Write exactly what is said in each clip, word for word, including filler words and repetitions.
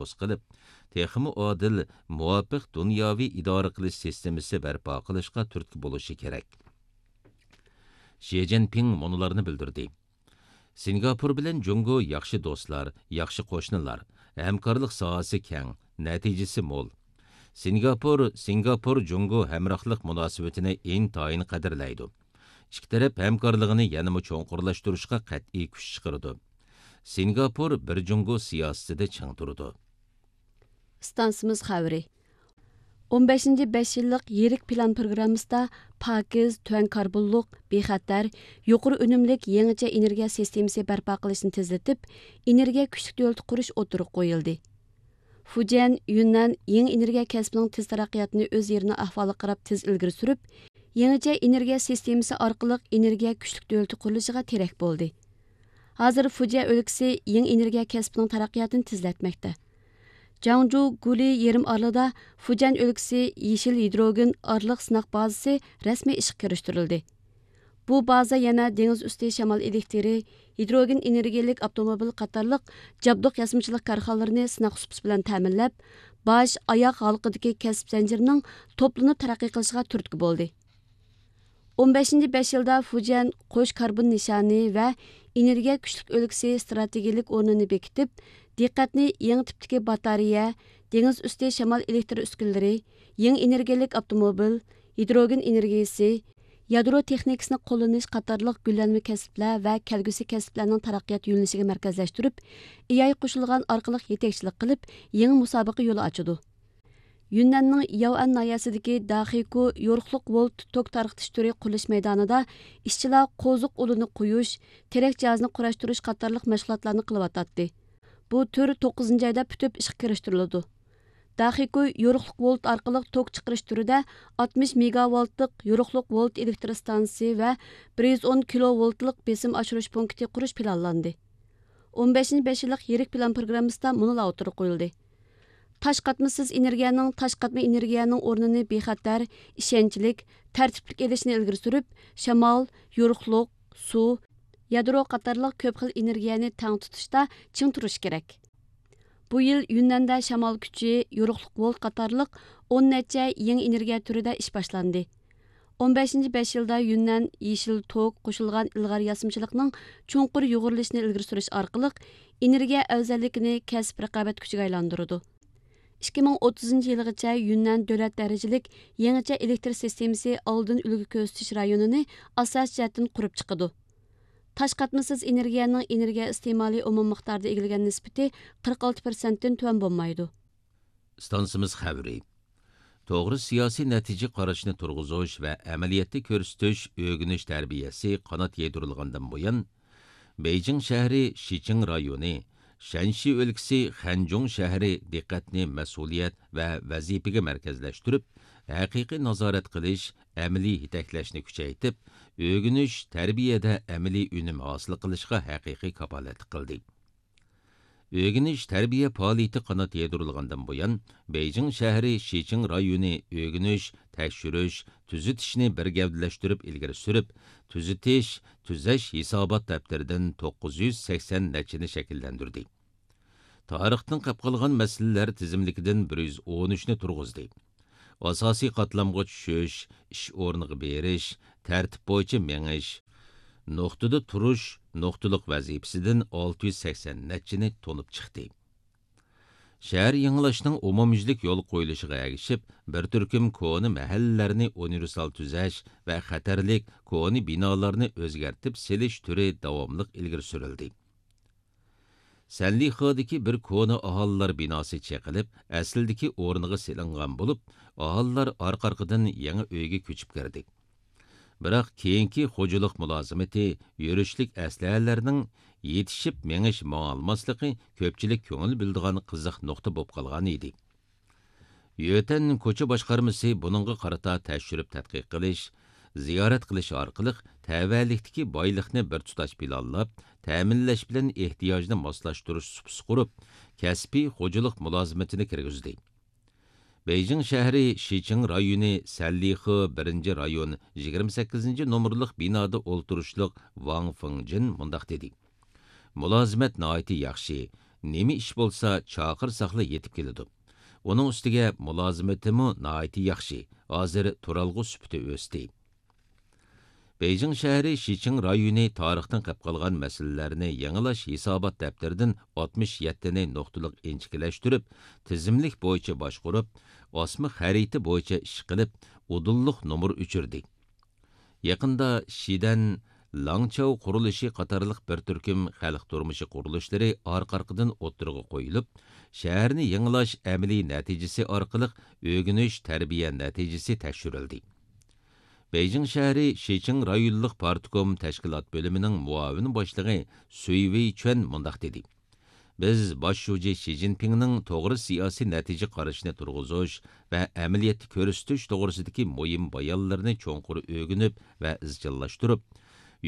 تەشەببۇس قىلىپ، تېخىمۇ ئادىل، مۇۋاپىق دۇنياۋى ئىدارە قىلىش سىستېمىسى بەرپا قىلىشقا تۈرتكە بولۇشى كېرەك. شى جىنپىڭ مۇنۇلارنى بىلدۈردى: سىنگاپور بىلەن جۇڭگو ياخشى دوستلار، ياخشى قوشنىلار، ھەمكارلىق ساھەسى كەڭ، نەتىجىسى مول. سىنگاپور، سىنگاپور جۇڭگو ھەمراھلىق مۇناسىۋىتىنى ئىنتايىن قەدىرلەيدۇ. ئىككى تەرەپ ھەمكارلىقىنى يەنىمۇ چوڭقۇرلاشتۇرۇشقا قەتئىي كۈچ چىقىرىدۇ. سىنگاپور بىر جۇڭگو سىياسىتىدە چىڭ تۇرىدۇ. ئىستانسىمىز خەۋىرى. ئون بەشىنچى بەش يىللىق يىرىك پىلان پروگراممىسىدا پاكىز، تۆۋەن كاربونلۇق، بىخەتەر، يۇقىرى ئۈنۈملۈك يېڭىچە ئېنېرگىيە سىستېمىسى بەرپا قىلىشنى تېزلىتىپ، ئېنېرگىيە كۈچلۈك دۆلىتى قۇرۇش ئوتتۇرىغا قويۇلدى. فۇجيەن، يۈننەن يېڭى ئېنېرگىيە كەسپىنىڭ تېز تەرەققىياتىنى ئۆز يېرىنىڭ ئەھۋالىغا قاراپ تېز ئىلگىرى سۈرۈپ، يېڭىچە ئېنېرگىيە سىستېمىسى ئارقىلىق ئېنېرگىيە كۈچلۈك دۆلىتى قۇرۇلۇشىغا تىرەك بولدى. ھازىر فۇجيەن ئۆلكىسى يېڭى ئېنېرگىيە كەسپىنىڭ تەرەققىياتىنى تېزلەتمەكتە. جاڭجۇ گۇلى يېرىم ئارىلىدا فۇجيەن ئۆلكىسى يېشىل ھىدروگېن ئارىلىق سىناق بازىسى رەسمىي ئىشقا كىرىشتۈرۈلدى. بۇ بازا يەنە دېڭىز ئۈستى شامال ئېلېكتىرى، ھىدروگېن ئېنېرگىيەلىك ئاپتوموبىل قاتارلىق جابدۇق ياسىمىچىلىق كارخانىلىرىنى سىناق سۇپىسى بىلەن تەمىنلەپ، باش، ئاياغ ھالقىدىكى كەسىپ زەنجىرىنىڭ توپلىنىپ تەرەققىي قىلىشىغا تۈرتكە بولدى. ئون بەشىنچى بەش يىلدا فۇجيەن قوش كاربون نىشانى ۋە ئېنېرگىيە كۈچلۈك ئۆلكىسى ئىستراتېگىيەلىك ئورنىنى بېكىتىپ، دىققەتنى يېڭى تىپتىكى باتارېيە، دېڭىز ئۈستى شامال ئېلېكتر ئۈسكۈنىلىرى، يېڭى ئېنېرگىيەلىك ئاپتوموبىل، ھىدروگېن ئېنېرگىيىسى، يادرو تېخنىكىسىنى قوللىنىش قاتارلىق گۈللەنمە كەسىپلەر ۋە كەلگۈسى كەسىپلەرنىڭ تەرەققىيات يۆنىلىشىگە مەركەزلەشتۈرۈپ، ئېياي قوشۇلغان ئارقىلىق يېتەكچىلىك قىلىپ، يېڭى مۇسابىقە يولى ئاچىدۇ. يۈننەننىڭ ياۋئەن ناھىيەسىدىكى داخىكۇ يورۇقلۇق ۋولت توك تارقىتىش تۈرى قۇرۇلۇش مەيدانىدا ئىشچىلار قوزۇق ئۇلىنى قويۇش، تېرەك جاھازىنى قۇراشتۇرۇش قاتارلىق مەشغۇلاتلارنى قىلىۋاتاتتى. بۇ تۈر توققۇزىنچى ئايدا پۈتۈپ ئىشقا كىرىشتۈرۈلىدۇ. داخىكۇ يورۇقلۇق ۋولت ئارقىلىق توك چىقىرىش تۈرىدە ئاتمىش مېگاۋولتلۇق يورۇقلۇق ۋولت ئېلېكتر ئىستانسىسى ۋە بىر يۈز ئون كىلوۋولتلۇق بېسىم ئاشۇرۇش پونكىتى قۇرۇش پىلانلاندى. ئون بەشىنچى بەش يىللىق يىرىك پىلان پروگراممىسىدا مۇنۇلار ئوتتۇرىغا قويۇلدى. تاش قاتمىسىز ئېنېرگىيەنىڭ تاش قاتما ئېنېرگىيەنىڭ ئورنىنى بىخەتەر، ئىشەنچلىك، تەرتىپلىك ئېلىشنى ئىلگىرى سۈرۈپ، شامال، يورۇقلۇق، سۇ، يادرو قاتارلىق كۆپ خىل ئېنېرگىيەنى تەڭ تۇتۇشتا چىڭ تۇرۇش كېرەك. بۇ يىل يۈننەندە شامال كۈچى، يورۇقلۇق ۋولت قاتارلىق ئون نەچچە يېڭى ئېنېرگىيە تۈرىدە ئىش باشلاندى. ئون بەشىنچى بەش يىلدا يۈننەن يېشىل توك قوشۇلغان ئىلغار ياسىمىچىلىقنىڭ چوڭقۇر يۇغۇرۇلۇشىنى ئىلگىرى سۈرۈش ئارقىلىق، ئېنېرگىيە ئەۋزەللىكىنى كەسىپ رىقابەت كۈچىگە ئايلاندۇرىدۇ. ئىككى مىڭ ئوتتۇزىنچى يىلغىچە يۈننەن دۆلەت دەرىجىلىك يېڭىچە ئېلېكتر سىستېمىسى ئالدىن ئۈلگە كۆرسىتىش رايونىنى ئاساسىي جەھەتتىن قۇرۇپ چىقىدۇ. تاش قاتمىسىز ئېنېرگىيەنىڭ ئېنېرگىيە ئىستېمالى ئومۇم مىقدارىدا ئىگىلىگەن نىسبىتى قىرىق ئالتە پىرسەنتتىن تۆۋەن بولمايدۇ. ئىستانسىمىز خەۋىرى. توغرا سىياسىي نەتىجە قارىشىنى تۇرغۇزۇش ۋە ئەمەلىيەتتە كۆرسىتىش ئۆگىنىش تەربىيەسى قانات يايدۇرۇلغاندىن بۇيان، بېيجىڭ شەھىرى شىچىڭ رايونى، شەنشى ئۆلكىسى خەنجۇڭ شەھىرى دىققەتنى مەسئۇلىيەت ۋە ۋەزىپىگە مەركەزلەشتۈرۈپ، ھەقىقىي نازارەت قىلىش، ئەمەلىي يېتەكلەشنى كۈچەيتىپ، ئۆگىنىش، تەربىيەدە ئەمەلىي ئۈنۈم ھاسىل قىلىشقا ھەقىقىي كاپالەتلىك قىلدى. ئۆگىنىش، تەربىيە پائالىيىتى قانات يايدۇرۇلغاندىن بۇيان، بېيجىڭ شەھىرى شىچىڭ رايونى ئۆگىنىش، تەكشۈرۈش، تۈزىتىشنى بىر گەۋدىلەشتۈرۈپ ئىلگىرى سۈرۈپ، تۈزىتىش، تۈزەش ھېسابات دەپتىرىدىن توققۇز يۈز سەكسەن نەچچىنى شەكىللەندۈردى. تارىختىن قېلىپ قالغان مەسىلىلەر تىزىملىكىدىن بىر يۈز ئون ئۈچنى تۇرغۇزدى. ئاساسىي قاتلامغا چۈشۈش، ئىش ئورنىغا بېرىش، تەرتىپ بويىچە مېڭىش، نۇقتىدا تۇرۇش، نۇقتىلىق ۋەزىپىسىدىن ئالتە يۈز سەكسەن نەچچىنى تونۇپ چىقتى. شەھەر يېڭىلاشنىڭ ئومۇميۈزلۈك يولغا قويۇلۇشىغا ئەگىشىپ، بىر تۈركۈم كونا مەھەللىلەرنى ئۇنىۋېرسال تۈزەش ۋە خەتەرلىك كونا بىنالارنى ئۆزگەرتىپ سېلىش تۈرى داۋاملىق ئىلگىرى سۈرۈلدى. سەنلىخېدىكى بىر كونا ئاھالىلەر بىناسى چېقىلىپ، ئەسلىدىكى ئورنىغا سېلىنغان بولۇپ، ئاھالىلەر ئارقا-ئارقىدىن يېڭى ئۆيگە كۆچۈپ كىردى. بىراق كېيىنكى خوجىلىق مۇلازىمىتى، يۈرۈشلۈك ئەسلىھەلەرنىڭ يېتىشىپ مېڭىش ماڭالماسلىقى كۆپچىلىك كۆڭۈل بۆلىدىغان قىزىق نۇقتا بولۇپ قالغان ئىدى. يۆتەن كوچا باشقارمىسى بۇنىڭغا قارىتا تەكشۈرۈپ تەتقىق قىلىش، زىيارەت قىلىش ئارقىلىق تەۋەلىكتىكى بايلىقنى بىر تۇتاش پىلانلاپ، تەمىنلەش بىلەن ئېھتىياجنى ماسلاشتۇرۇش سۇپىسى قۇرۇپ، كەسپىي خوجىلىق مۇلازىمىتىنى كىرگۈزدى. بېيجىڭ شەھىرى شىچىڭ رايونى سەنلىخې بىرىنچى رايون يىگىرمە سەككىزىنچى نومۇرلۇق بىنادا ئولتۇرۇشلۇق ۋاڭ فېڭجىن مۇنداق دېدى: مۇلازىمەت ناھايىتى ياخشى، نېمە ئىش بولسا چاقىرساقلا يېتىپ كېلىدۇ. ئۇنىڭ ئۈستىگە مۇلازىمىتىمۇ ناھايىتى ياخشى، ھازىر تۇرالغۇ سۈپىتى ئۆستى. بېيجىڭ شەھىرى شىچىڭ رايونى تارىختىن قېلىپ قالغان مەسىلىلەرنى يېڭىلاش ھېسابات دەپتىرىدىن ئاتمىش يەتتىنى نۇقتىلىق ئىنچىكىلەشتۈرۈپ، تىزىملىك بويىچە باشقۇرۇپ، ئاسما خەرىتە بويىچە ئىش قىلىپ، ئۇدۇللۇق نومۇر ئۆچۈردى. يېقىندا شىدەن، لاڭچاۋ قۇرۇلۇشى قاتارلىق بىر تۈركۈم خەلق تۇرمۇشى قۇرۇلۇشلىرى ئارقا-ئارقىدىن ئوتتۇرىغا قويۇلۇپ، شەھەرنى يېڭىلاش ئەمەلىي نەتىجىسى ئارقىلىق ئۆگىنىش، تەربىيە نەتىجىسى تەكشۈرۈلدى. بېيجىڭ شەھىرى شىچىڭ رايونلۇق پارتكوم تەشكىلات بۆلۈمىنىڭ مۇئاۋىن باشلىقى سۈي ۋېي چۈەن مۇنداق دېدى: بىز باش شۇجى شى جىنپىڭنىڭ توغرا سىياسىي نەتىجە قارىشىنى تۇرغۇزۇش ۋە ئەمەلىيەتتە كۆرسىتىش توغرىسىدىكى مۇھىم بايانلىرىنى چوڭقۇر ئۆگىنىپ ۋە ئىزچىللاشتۇرۇپ،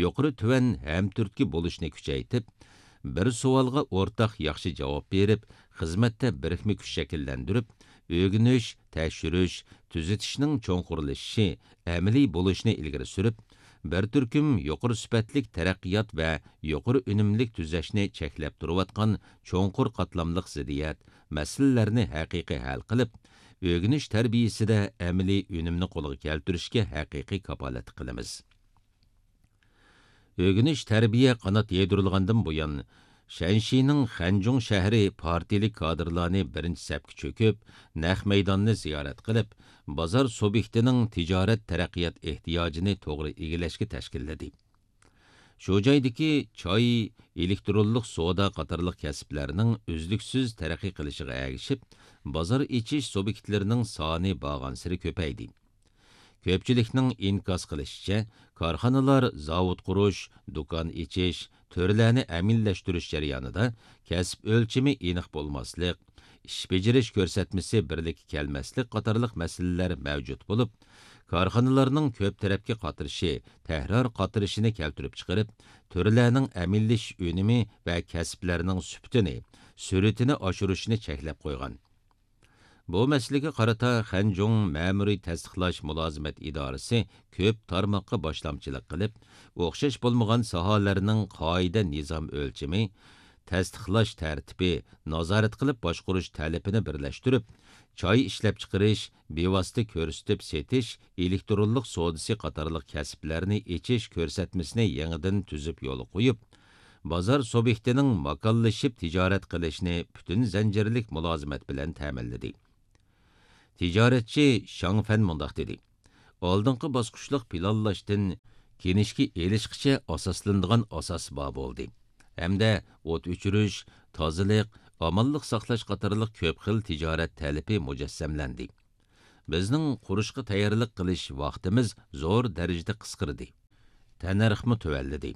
يۇقىرى تۆۋەن ھەمتۈرتكە بولۇشنى كۈچەيتىپ، بىر سوئالغا ئورتاق ياخشى جاۋاب بېرىپ، خىزمەتتە بىرىكمە كۈچ شەكىللەندۈرۈپ، ئۆگىنىش، تەكشۈرۈش، تۈزىتىشنىڭ چوڭقۇرلىشىشى، ئەمەلىي بولۇشىنى ئىلگىرى سۈرۈپ، بىر تۈركۈم يۇقىرى سۈپەتلىك تەرەققىيات ۋە يۇقىرى ئۈنۈملۈك تۈزەشنى چەكلەپ تۇرۇۋاتقان چوڭقۇر قاتلاملىق زىددىيەت، مەسىلىلەرنى ھەقىقىي ھەل قىلىپ، ئۆگىنىش تەربىيىسىدە ئەمەلىي ئۈنۈمنى قولغا كەلتۈرۈشكە ھەقىقىي كاپالەتلىك قىلىمىز. ئۆگىنىش تەربىيە قانات يايدۇرۇلغاندىن بۇيان، شەنشىنىڭ خەنجۇڭ شەھىرى پارتىيىلىك كادىرلارنى بىرىنچى سەپكە چۆكۈپ، نەق مەيداننى زىيارەت قىلىپ، بازار سۇبيېكتىنىڭ تىجارەت تەرەققىيات ئېھتىياجىنى توغرا ئىگىلەشكە تەشكىللىدى. شۇ جايدىكى چاي، ئېلېكترونلۇق سودا قاتارلىق كەسىپلەرنىڭ ئۈزلۈكسىز تەرەققىي قىلىشىغا ئەگىشىپ، بازار ئېچىش سۇبيېكتلىرىنىڭ سانى بارغانسېرى كۆپەيدى. كۆپچىلىكنىڭ ئىنكاس قىلىشىچە، كارخانىلار زاۋۇت قۇرۇش، دۇكان ئېچىش، تۈرلەرنى ئەمەلىيلەشتۈرۈش جەريانىدا كەسىپ ئۆلچىمى ئېنىق بولماسلىق، ئىش بېجىرىش كۆرسەتمىسى بىرلىككە كەلمەسلىك قاتارلىق مەسىلىلەر مەۋجۇت بولۇپ، كارخانىلارنىڭ كۆپ تەرەپكە قاترىشى تەكرار قاترىشىنى كەلتۈرۈپ چىقىرىپ، تۈرلەرنىڭ ئەمەلىيلىشىش ئۈنۈمى ۋە كەسىپلەرنىڭ سۈپىتىنى، سۈرئىتىنى ئاشۇرۇشنى چەكلەپ قويغان. بۇ مەسىلىگە قارىتا خەنجۇڭ مەمۇرىي تەستىقلاش مۇلازىمەت ئىدارىسى كۆپ تارماققا باشلامچىلىق قىلىپ، ئوخشاش بولمىغان ساھەلەرنىڭ قائىدە نىزام ئۆلچىمى، تەستىقلاش تەرتىپى، نازارەت قىلىپ باشقۇرۇش تەلىپىنى بىرلەشتۈرۈپ، چاي ئىشلەپچىقىرىش، بىۋاسىتە كۆرسىتىپ سېتىش، ئېلېكترونلۇق سودىسى قاتارلىق كەسىپلەرنى ئېچىش كۆرسەتمىسىنى يېڭىدىن تۈزۈپ يولغا قويۇپ، بازار سۇبيېكتىنىڭ ماكانلىشىپ تىجارەت قىلىشىنى پۈتۈن زەنجىرلىك مۇلازىمەت بىلەن تەمىنلىدى. تىجارەتچى شاڭ فەن مۇنداق دېدى: ئالدىنقى باسقۇچلۇق پىلانلاشتىن كىنىشكا ئېلىشقىچە ئاساسلىنىدىغان ئاساس بار بولدى ھەمدە ئوت ئۆچۈرۈش، تازىلىق، ئامانلىق ساقلاش قاتارلىق كۆپ خىل تىجارەت تەلىپى مۇجەسسەملەندى. بىزنىڭ قۇرۇشقا تەييارلىق قىلىش ۋاقتىمىز زور دەرىجىدە قىسقىردى. تەننەرخمۇ تۆۋەنلىدى.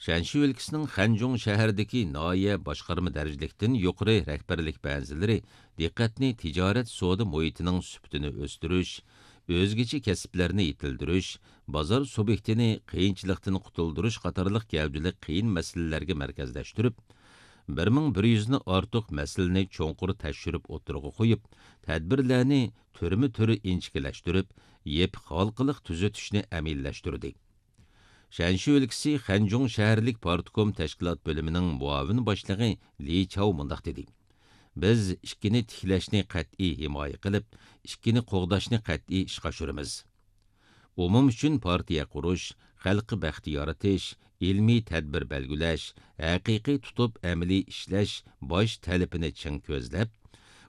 شەنشى ئۆلكىسىنىڭ خەنجۇڭ شەھىرىدىكى ناھىيە باشقارما دەرىجىلىكتىن يۇقىرى رەھبەرلىك بەنزىلىرى دىققەتنى تىجارەت سودا مۇھىتىنىڭ سۈپىتىنى ئۆستۈرۈش، ئۆزگىچە كەسىپلەرنى يېتىلدۈرۈش، بازار سۇبيېكتىنى قىيىنچىلىقتىن قۇتۇلدۇرۇش قاتارلىق گەۋدىلىك قىيىن مەسىلىلەرگە مەركەزلەشتۈرۈپ، بىر مىڭ بىر يۈزنى ئارتۇق مەسىلىنى چوڭقۇر تەكشۈرۈپ ئوتتۇرىغا قويۇپ، تەدبىرلەرنى تۈرمە تۈر ئىنچىكىلەشتۈرۈپ، يېپىق ھالقىلىق تۈزىتىشنى ئەمەلىيلەشتۈردى. شەنشى ئۆلكىسى خەنجۇڭ شەھەرلىك پارتكوم تەشكىلات بۆلۈمىنىڭ مۇئاۋىن باشلىقى لى چاۋ مۇنداق دېدى: بىز ئىككىنى تىكلەشنى قەتئىي ھىمايە قىلىپ، ئىككىنى قوغداشنى قەتئىي ئىشقا ئاشۇرىمىز. ئومۇم ئۈچۈن پارتىيە قۇرۇش، خەلققە بەخت يارىتىش، ئىلمىي تەدبىر بەلگىلەش، ھەقىقىي تۇتۇپ ئەمەلىي ئىشلەش باش تەلىپىنى چىڭ كۆزلەپ،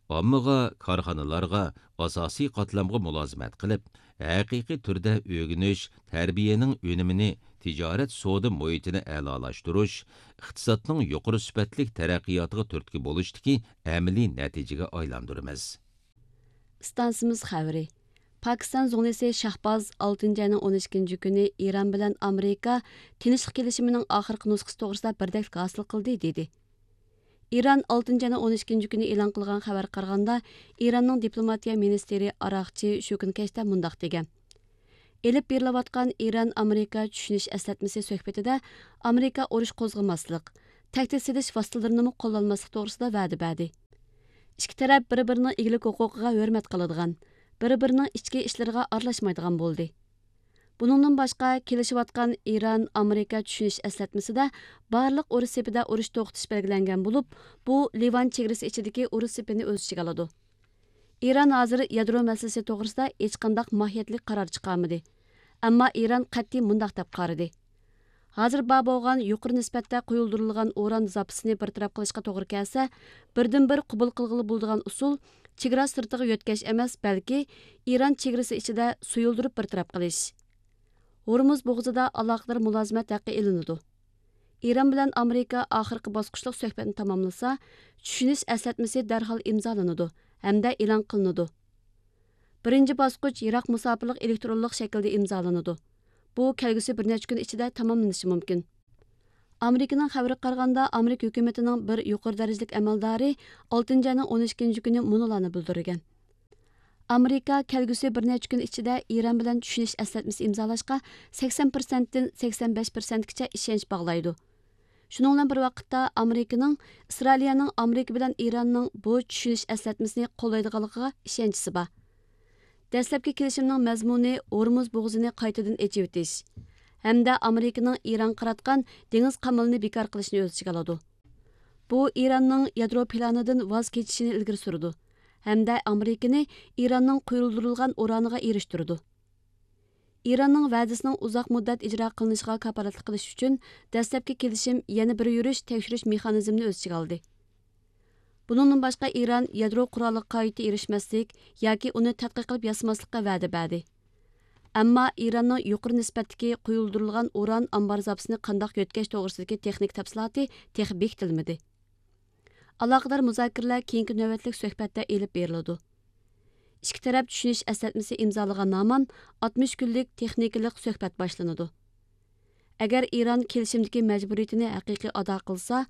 ئاممىغا، كارخانىلارغا، ئاساسىي قاتلامغا مۇلازىمەت قىلىپ، ھەقىقىي تۈردە ئۆگىنىش، تەربىيەنىڭ ئۈنۈمىنى تىجارەت سودا مۇھىتىنى ئەلالاشتۇرۇش، ئىقتىسادنىڭ يۇقىرى سۈپەتلىك تەرەققىياتىغا تۈرتكە بولۇشتىكى ئەمەلىي نەتىجىگە ئايلاندۇرىمىز. ئىستانسىمىز خەۋىرى. پاكىستان زۇڭلىسى شاھباز ئالتىنچى ئاينىڭ ئون ئىككىنچى كۈنى ئىران بىلەن ئامېرىكا تىنچلىق كېلىشىمىنىڭ ئاخىرقى نۇسخىسى توغرىسىدا بىردەكلىك ھاسىل قىلدى، دېدى. ئىران ئالتىنچى ئاينىڭ ئون ئىككىنچى كۈنى ئېلان قىلغان خەۋەرگە قارىغاندا، ئىراننىڭ دىپلوماتىيە مىنىستىرى ئاراقچى شۇ كۈنى كەچتە مۇنداق دېگەن: ئېلىپ بېرىلىۋاتقان ئىران ئامېرىكا چۈشىنىش ئەسلەتمىسى سۆھبىتىدە ئامېرىكا ئۇرۇش قوزغىماسلىق، تەھدىت سېلىش ۋاسىتىلىرىنىمۇ قوللانماسلىق توغرىسىدا ۋەدە بەردى. ئىككى تەرەپ بىر-بىرىنىڭ ئىگىلىك ھوقۇقىغا ھۆرمەت قىلىدىغان، بىر-بىرىنىڭ ئىچكى ئىشلىرىغا ئارىلاشمايدىغان بولدى. بۇنىڭدىن باشقا، كېلىشىۋاتقان ئىران ئامېرىكا چۈشىنىش ئەسلەتمىسىدە بارلىق ئۇرۇش سېپىدە ئۇرۇش توختىتىش بەلگىلەنگەن بولۇپ، بۇ لىۋان چېگرىسى ئىچىدىكى ئۇرۇش سېپىنى ئۆز ئىچىگە ئالىدۇ. ئىران ھازىر يادرو مەسىلىسى توغرىسىدا ھېچقانداق ماھىيەتلىك قارار چىقارمىدى. ئەمما ئىران قەتئىي مۇنداق دەپ قارىدى: ھازىر بار بولغان يۇقىرى نىسبەتتە قويۇلدۇرۇلغان ئۇران زاپىسىنى بىر تەرەپ قىلىشقا توغرا كەلسە، بىردىنبىر قوبۇل قىلغىلى بولىدىغان ئۇسۇل چېگرا سىرتىغا يۆتكەش ئەمەس، بەلكى ئىران چېگرىسى ئىچىدە سۇيۇلدۇرۇپ بىر تەرەپ قىلىش. ھورمۇز بوغۇزىدا ئالاقىدار مۇلازىمەت ھەققى ئېلىنىدۇ. ئىران بىلەن ئامېرىكا ئاخىرقى باسقۇچلۇق سۆھبەتنى تاماملىسا، چۈشىنىش ئەسلەتمىسى دەرھال ئىمزالىنىدۇ ھەمدە ئېلان قىلىنىدۇ. بىرىنچى باسقۇچ يىراق مۇساپىلىق ئېلېكترونلۇق شەكىلدە ئىمزالىنىدۇ. بۇ كەلگۈسى بىر نەچچە كۈن ئىچىدە تاماملىنىشى مۇمكىن. ئامېرىكىنىڭ خەۋىرىگە قارىغاندا، ئامېرىكا ھۆكۈمىتىنىڭ بىر يۇقىرى دەرىجىلىك ئەمەلدارى ئالتىنچى ئاينىڭ ئون ئىككىنچى كۈنى مۇنۇلارنى بىلدۈرگەن: ئامېرىكا كەلگۈسى بىر نەچچە كۈن ئىچىدە ئىران بىلەن چۈشىنىش ئەسلەتمىسى ئىمزالاشقا سەكسەن پىرسەنتتىن سەكسەن بەش پىرسەنتكىچە ئىشەنچ باغلايدۇ. شۇنىڭ بىلەن بىر ۋاقىتتا، ئامېرىكىنىڭ ئىسرائىلىيەنىڭ ئامېرىكا بىلەن ئىراننىڭ بۇ چۈشىنىش ئەسلەتمىسىنى قوللايدىغانلىقىغا ئىشەنچىسى بار. دەسلەپكى كېلىشىمنىڭ مەزمۇنى ھورمۇز بوغۇزىنى قايتىدىن ئېچىۋېتىش ھەمدە ئامېرىكىنىڭ ئىرانغا قاراتقان دېڭىز قامىلىنى بىكار قىلىشنى ئۆز ئىچىگە ئالىدۇ. بۇ ئىراننىڭ يادرو پىلانىدىن ۋاز كېچىشىنى ئىلگىرى سۈرىدۇ ھەمدە ئامېرىكىنى ئىراننىڭ قۇيۇلدۇرۇلغان ئۇرانىغا ئېرىشتۈرىدۇ. ئىراننىڭ ۋەدىسىنىڭ ئۇزاق مۇددەت ئىجرا قىلىنىشىغا كاپالەتلىك قىلىش ئۈچۈن، دەسلەپكى كېلىشىم يەنە بىر يۈرۈش تەكشۈرۈش مېخانىزمىنى ئۆز ئىچىگە ئالدى. بۇنىڭدىن باشقا، ئىران يادرو قورالىغا قايتا ئېرىشمەسلىك ياكى ئۇنى تەتقىق قىلىپ ياسىماسلىققا ۋەدە بەردى. ئەمما ئىراننىڭ يۇقىرى نىسبەتتىكى قويۇلدۇرۇلغان ئۇران ئامبار زاپىسىنى قانداق يۆتكەش توغرىسىدىكى تېخنىك تەپسىلاتى تېخى بېكىتىلمىدى. ئالاقىدار مۇزاكىرىلەر كېيىنكى نۆۋەتلىك سۆھبەتتە ئېلىپ بېرىلىدۇ. ئىككى تەرەپ چۈشىنىش ئەسلەتمىسى ئىمزالىغان ھامان ئاتمىش كۈنلۈك تېخنىكىلىق سۆھبەت باشلىنىدۇ. ئەگەر ئىران كېلىشىمدىكى مەجبۇرىيىتىنى ھەقىقىي ئادا قىلسا،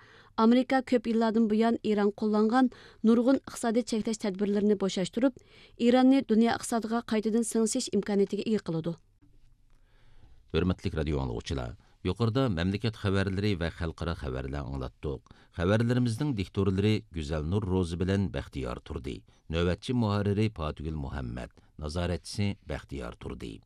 ئامېرىكا كۆپ يىللاردىن بۇيان ئىران قوللانغان نۇرغۇن ئىقتىسادىي چەكلەش تەدبىرلىرىنى بوشاشتۇرۇپ، ئىراننى دۇنيا ئىقتىسادىغا قايتىدىن سىڭىشىش ئىمكانىيىتىگە ئىگە قىلىدۇ. ھۆرمەتلىك رادىيو ئاڭلىغۇچىلار، يۇقىرىدا مەملىكەت خەۋەرلىرى ۋە خەلقئارا خەۋەرلەر ئاڭلاتتۇق. خەۋەرلىرىمىزنىڭ دىكتورلىرى گۈزەلنۇر روزى بىلەن بەختىيار تۇردى. نۆۋەتچى مۇھەررىرى پاتىگۈل مۇھەممەد. نازارەتچىسى بەختىيار تۇردى.